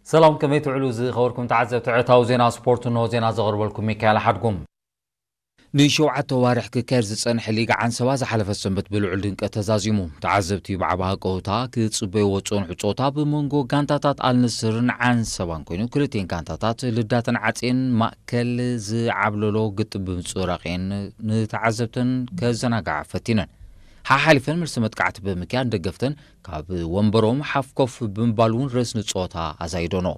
ሰላም፣ ከመይ ትውዕሉ ዝኸበርኩም ተዓዘብቲ ዕለታዊ ዜና ስፖርት? እንሆ ዜና ዘቕርበልኩም ሚካኤል ሓድጉም። ንሸውዓተ ዋርሕ ክካየድ ዝጸንሐ ሊግ ዓንሰባ ዝሓለፈት ሰንበት ብልዑል ድምቀት ተዛዚሙ። ተዓዘብቲ ብዓቢ ሃቀውታ ክጽበይዎ ዝጸንሑ ጸወታ ብመንጎ ጋንታታት ኣልንስርን ዓንሰባን ኮይኑ፣ ክልቲኤን ጋንታታት ልዳተን ዓጽየን ማእከል ዝዓብለሎ ግጥም ብምጽራቕየን ንተዓዘብተን ከዘናግዓ ፈቲነን። ሓሓሊፈን መልሲ መጥቃዕቲ ብምክያድ ደገፍተን ካብ ወንበሮም ሓፍ ኮፍ ብምባል እውን ርእስኒ ጸወታ ኣዛይዶኖ።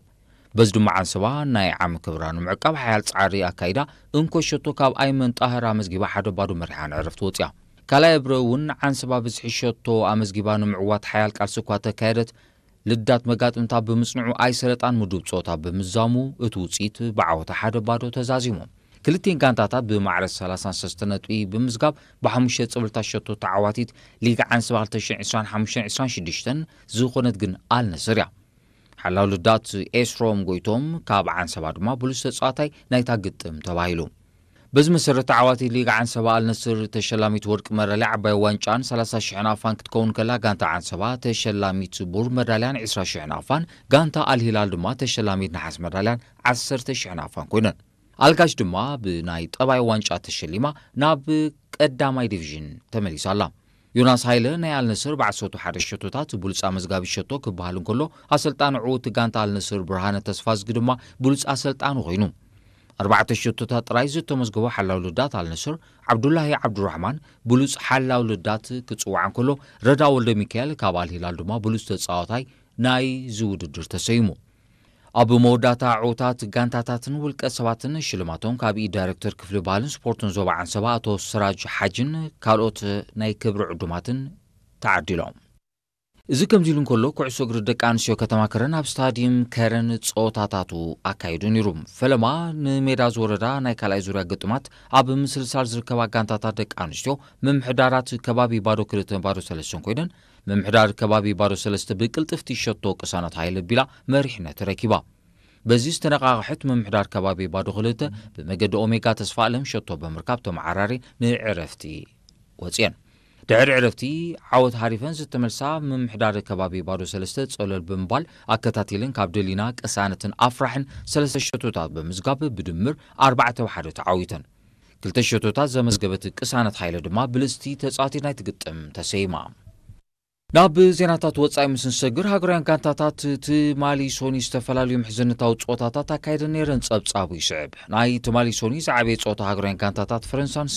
በዚ ድማ ዓንሰባ ናይ ዓሚ ክብራ ንምዕቃብ ሓያል ጻዕሪ ኣካይዳ፣ እንኮ ሸቶ ካብ ኣይመን ጣህር ኣመዝጊባ ሓደ ባዶ መሪሓ ንዕረፍቲ ወጽያ። ካልኣይ እብረ እውን ዓንሰባ ብዝሒ ሸቶ ኣመዝጊባ ንምዕዋት ሓያል ቃልሲ እኳ ተካየደት፣ ልዳት መጋጥምታ ብምጽንዑ ኣይሰለጣን ምዱብ ጸወታ ብምዛሙ እቲ ውጽኢት ብዓወታ ሓደ ባዶ ተዛዚሙ። ክልቲኤን ጋንታታት ብማዕረ ሰላሳን ሰለስተን ነጥቢ ብምዝጋብ ብሓሙሽተ ጽብልታት ሸቶ ተዓዋቲት ሊግ ዓንሰባ ክልተ ሽሕን ዕስራን ሓሙሽተን ዕስራን ሽዱሽተን ዝኾነት ግን ኣልነስር እያ። ሓላው ልዳት ኤስሮም ጎይቶም ካብ ዓንሰባ ድማ ብሉጽ ተጻዋታይ ናይታ ግጥም ተባሂሉ። በዚ መሰረት ተዓዋቲ ሊግ ዓንሰባ ኣልነስር ተሸላሚት ወርቂ መዳልያ ዓባይ ዋንጫን ሰላሳ ሽሕ ናቕፋን ክትከውን ከላ፣ ጋንታ ዓንሰባ ተሸላሚት ብሩር መዳልያን ዕስራ ሽሕ ናቕፋን፣ ጋንታ ኣልሂላል ድማ ተሸላሚት ነሓስ መዳልያን ዓሰርተ ሽሕ ናቕፋን ኮይነን። ኣልጋሽ ድማ ብናይ ጠባይ ዋንጫ ተሸሊማ ናብ ቀዳማይ ዲቪዥን ተመሊሳ ኣላ። ዮናስ ሃይለ ናይ ኣልነስር ብዓሰርተ ሓደ ሸቶታት ብሉጽ ኣመዝጋቢ ሸቶ ክበሃል እንከሎ፣ ኣሰልጣኒ ዕዉት ጋንታ ኣልነስር ብርሃነ ተስፋዝጊ ድማ ብሉጽ ኣሰልጣኒ ኮይኑ። ኣርባዕተ ሸቶታት ጥራይ ዝተመዝገቦ ሓላው ልዳት ኣልነስር ዓብዱላሂ ዓብዱራሕማን ብሉጽ ሓላው ልዳት ክጽዋዕ እንከሎ፣ ረዳ ወልደ ሚካኤል ካብ ኣልሂላል ድማ ብሉጽ ተጻዋታይ ናይዚ ውድድር ተሰይሙ። ኣብ መወዳእታ ዕዉታት ጋንታታትን ውልቀ ሰባትን ሽልማቶም ካብ ኢድ ዳይሬክተር ክፍሊ ባህልን ስፖርትን ዞባ ዓንሰባ ኣቶ ስራጅ ሓጅን ካልኦት ናይ ክብሪ ዕዱማትን ተዓዲሎም። እዚ ከምዚ ኢሉ እንከሎ፣ ኩዕሶ እግሪ ደቂ ኣንስትዮ ከተማ ከረን ኣብ ስታዲየም ከረን ጸወታታቱ ኣካይዱ ነይሩ። ፈለማ ንሜዳ ዝወረዳ ናይ ካልኣይ ዙርያ ግጥማት ኣብ ምስልሳል ዝርከባ ጋንታታት ደቂ ኣንስትዮ ምምሕዳራት ከባቢ ባዶ ክልተን ባዶ ሰለስተን ኮይነን፣ ምምሕዳር ከባቢ ባዶ ሰለስተ ብቅልጥፍቲ ሸቶ ቅሳነት ሃይለ ቢላ መሪሕነት ረኪባ። በዚ ዝተነቓቕሐት ምምሕዳር ከባቢ ባዶ ክልተ ብመገዲ ኦሜጋ ተስፋ ኣለም ሸቶ ብምርካብ ተመዓራሪ ንዕረፍቲ ወፅየን። ድሕሪ ዕረፍቲ ዓወት ሃሪፈን ዝተመልሳ ምምሕዳር ከባቢ ባዶ ሰለስተ ጸለል ብምባል ኣከታቲለን ካብ ደሊና ቅሳነትን ኣፍራሕን ሰለስተ ሸቶታት ብምዝጋብ ብድምር ኣርባዕተ ብሓደ ተዓዊተን። ክልተ ሸቶታት ዘመዝገበት ቅሳነት ሃይለ ድማ ብልጽቲ ተጻዋቲት ናይቲ ግጥም ተሰይማ። ናብ ዜናታት ወጻኢ ምስ ንሰግር፣ ሃገራውያን ጋንታታት ትማሊ ሶኒ ዝተፈላለዩ ምሕዝነታዊ ጸወታታት ኣካይደን ነይረን። ጸብጻቡ ይስዕብ። ናይ ትማሊ ሶኒ ዝዓበየ ጸወታ ሃገራውያን ጋንታታት ፈረንሳን